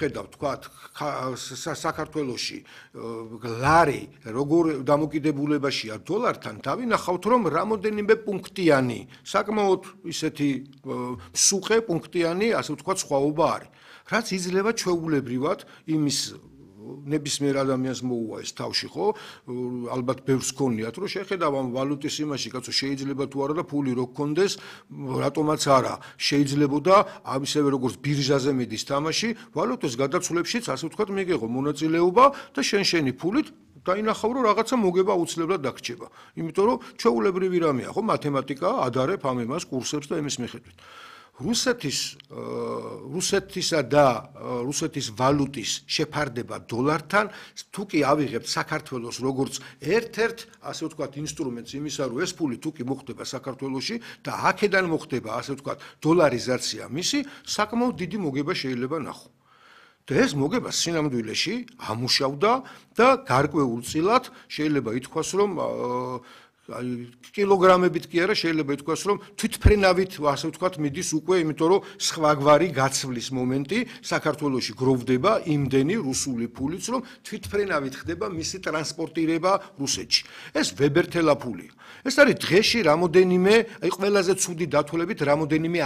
ხედავთ თქვათ საქართველოში ლარი როგორ დამოკიდებულებაშია დოლართან დავინახავთ რომ რამოდენიმე პუნქტიანი საკმაოდ ისეთი სუყე პუნქტიანი ასე ვთქვათ სხვაობა არის რაც იძლევა ჩვეულებრივად იმის ნებისმიერ ადამიანს მოუვა ეს თავში ხო ალბათ ბევრს გქონიათ რომ შეხედავ ამ ვალუტის იმაში კაცო შეიძლება თუ არა და ფული რო გქონდეს რატომაც არა შეიძლებოდა ამისევე როგორც ბირჟაზე მიდის თამაში ვალუტის გადაცვლებშიც ასე ვთქვათ მიიღო მონაწილეობა და შენი ფულით დაინახავ რომ რაღაცა მოგება აუცილებლად დაგრჩება იმიტომ რომ ჩვეულებრივი რამეა ხო მათემატიკა ადარებ ამ იმას კურსებს და იმის მიხედვით რუსეთისა და რუსეთის ვალუტის შეფარდება დოლართან თუ კი ავიღებთ საქართველოს როგორც ერთ-ერთ ასე ვთქვათ ინსტრუმენტს იმისა რომ ეს ფული თუ კი მოხდება საქართველოში და აქედან მოხდება ასე ვთქვათ დოლარიზაცია მისი საკმაოდ დიდი მოგება შეიძლება ნახო და ეს მოგება სინამდვილეში ამუშავდა და გარკვეულწილად შეიძლება ითქვას რომ კილოგრამებით კი არა შეიძლება ითქვას რომ თვითფრენავით ასე ვთქვათ მიდის უკვე იმიტომ რომ სხვაგვარი გაცვლის მომენტი საქართველოში გროვდება იმდენი რუსული ფულიც რომ თვითფრენავით ხდება მისი ტრანსპორტირება რუსეთში ეს ვებერთელა ფულია ეს არის დღეში რამოდენიმე აი ყველაზე ცუდი დათვლებით რამოდენიმე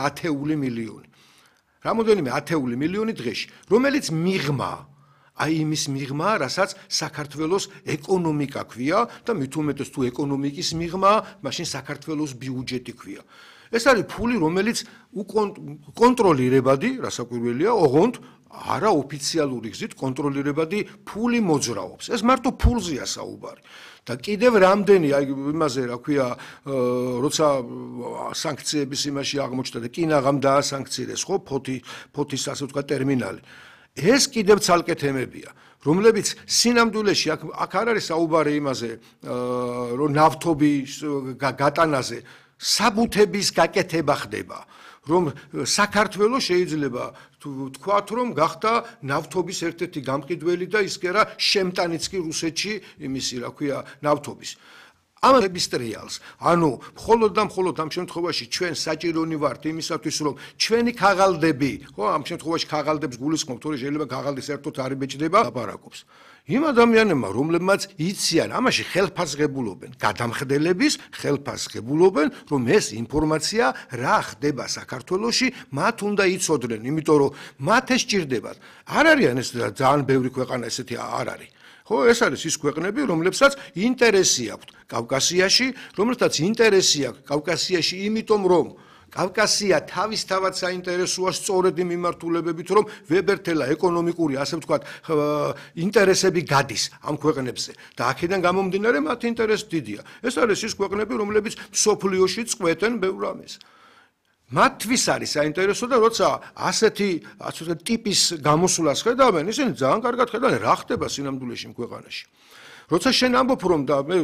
ათეული მილიონი დღეში რომელიც მიღმა აი იმის მიღმა, რასაც საქართველოს ეკონომიკა ქვია და მით უმეტეს თუ ეკონომიკის მიღმა, მაშინ საქართველოს ბიუჯეტი ქვია. ეს არის ფული, რომელიც კონტროლირებადი, რასაკვირველია, ოღონდ არაოფიციალური გზით კონტროლირებადი ფული მოძრაობს. ეს მარტო ფულზეა საუბარი. და კიდევ რამდენი აი იმაზე რა ქვია როცა სანქციების იმაში აღმოჩნდა და კინაღამ დაასანქცირეს ხო ფოთის ასე ვთქვათ ტერმინალი ეს კიდევ ცალკე თემებია, რომლებიც სინამდვილეში აქ არ არის საუბარი იმაზე, რომ ნავთობის გატანაზე საბუთების გაკეთება ხდება, რომ საქართველოს შეიძლება თქვათ, რომ გახდა ნავთობის ერთ-ერთი გამყიდველი და ის კი არა შემტანიც კი რუსეთში იმისი რა ქვია ნავთობის. ამ რეგისტრიალს, ანუ მხოლოდ და მხოლოდ ამ შემთხვევაში ჩვენ საჭირონი ვართ იმისათვის, რომ ჩვენი ქაღალდები, ხო, ამ შემთხვევაში ქაღალდებს გულისხმობ, თორე შეიძლება ქაღალდი საერთოდ არ იბეჭდება, ლაპარაკობს. იმ ადამიანებმა, რომლებმაც იციან, ამაში ხელფასღებულობენ, გადამხდელების ხელფასღებულობენ, რომ ეს ინფორმაცია რა ხდება საქართველოში, მათ უნდა იცოდნენ, იმიტომ რომ მათ ეს სჭირდებათ. არ არიან ეს ძალიან ბევრი ქვეყანა ესეთი არ არის. ხო, ეს არის ის ქვეყნები, რომლებსაც ინტერესი აქვთ კავკასიაში, რომელთაც ინტერესი აქვს კავკასიაში, იმიტომ რომ კავკასია თავისთავად საინტერესოა სწორედ იმ მიმართულებებით, რომ ვებერთელა ეკონომიკური, ასე ვთქვათ, ინტერესები გადის ამ ქვეყნებზე და აქედან გამომდინარე მათ ინტერესი დიდია. ეს არის ის ქვეყნები, რომლებიც მსოფლიოში წყვეტენ ბევრ რამეს. მათთვის არის საინტერესო და როცა ასეთი ტიპის გამოსვლას ხედავენ, ისინი ძალიან კარგად ხედავენ რა ხდება სინამდვილეში ქვეყანაში. როცა შენ ამბობ რომ და მე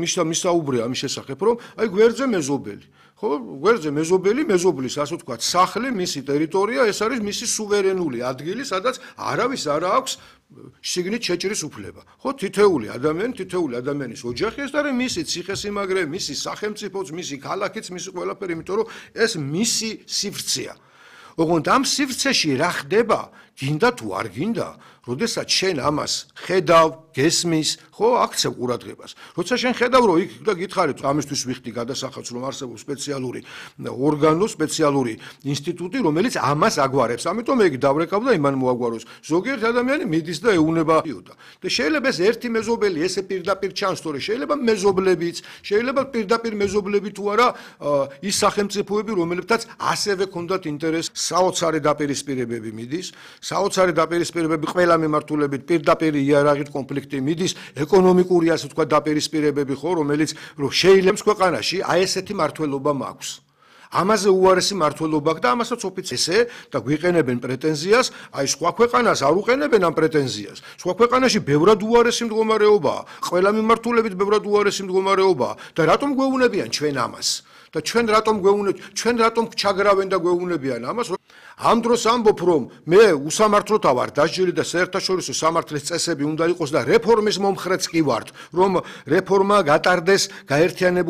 მისაუბრია ამის შესახებ, რომ აი გვერდზე მეზობელი, ხო, გვერდზე მეზობლის ასე ვთქვათ, სახლი, მისი ტერიტორია, ეს არის მისი სუვერენული ადგილი, სადაც არავის არ აქვს შიგნით შეჭრის უფლება. ხო, თითეული ადამიანის ოჯახი ეს არის მისი ციხესიმაგრე, მისი სახელმწიფოც, მისი ქალაქიც, მისი ყველაფერი, იმიტომ რომ ეს მისი სივრცეა. ოღონდ ამ სივრცეში რა ხდება, გინდა თუ არ გინდა, როდესაც შენ ამას ხედავ, გესმის, ხო, აქცევ ყურადღებას. როცა შენ ხედავ, რომ იქ და გითხარით, ამისთვის ვიხდი გადასახადს, რომ არსებობს სპეციალური ორგანო, სპეციალური ინსტიტუტი, რომელიც ამას აგვარებს. ამიტომ ეგ დავრეკავ და იმან მოაგვაროს. ზოგიერთ ადამიანი მიდის და ეუნება. და შეიძლება ეს ერთი მეზობელი ესე პირდაპირ ჩანს, თორე შეიძლება მეზობლებიც, შეიძლება პირდაპირ მეზობლები თუ არა ის სახელმწიფოები, რომლებთაც ასევე ქონდათ ინტერესი. საოცარი დაპირისპირებები მიდის, საოცარი დაპირისპირებები ყველა მიმართულებით პირდაპირ იარაღით კონფლიქტი მიდის, ეკონომიკური ასე ვთქვათ დაპირისპირებები ხო, რომელიც შეიძლება ქვეყანაში აი ესეთი მართლობა მაქვს. ამაზე უარესი მართლობა აქვს და ამასაც ოფიციალზე და გვიყენებენ პრეტენზიას, აი სხვა ქვეყანას არ უყენებენ ამ პრეტენზიას. სხვა ქვეყანაში ბევრად უარესი მდგომარეობაა, ყველა მიმართულებით ბევრად უარესი მდგომარეობაა და რატომ გვეუბნებიან ჩვენ ამას? და ჩვენ რატომ ჩაგრავენ და გვეუბნებიან ამას? ამ დროს ამბობ, რომ მე უსამართლოთა ვარ დასჯილი და საერთაშორისო სამართლის წესები უნდა იყოს და რეფორმის მომხრეც კი ვარ, რომ რეფორმა გატარდეს გაერთიანებული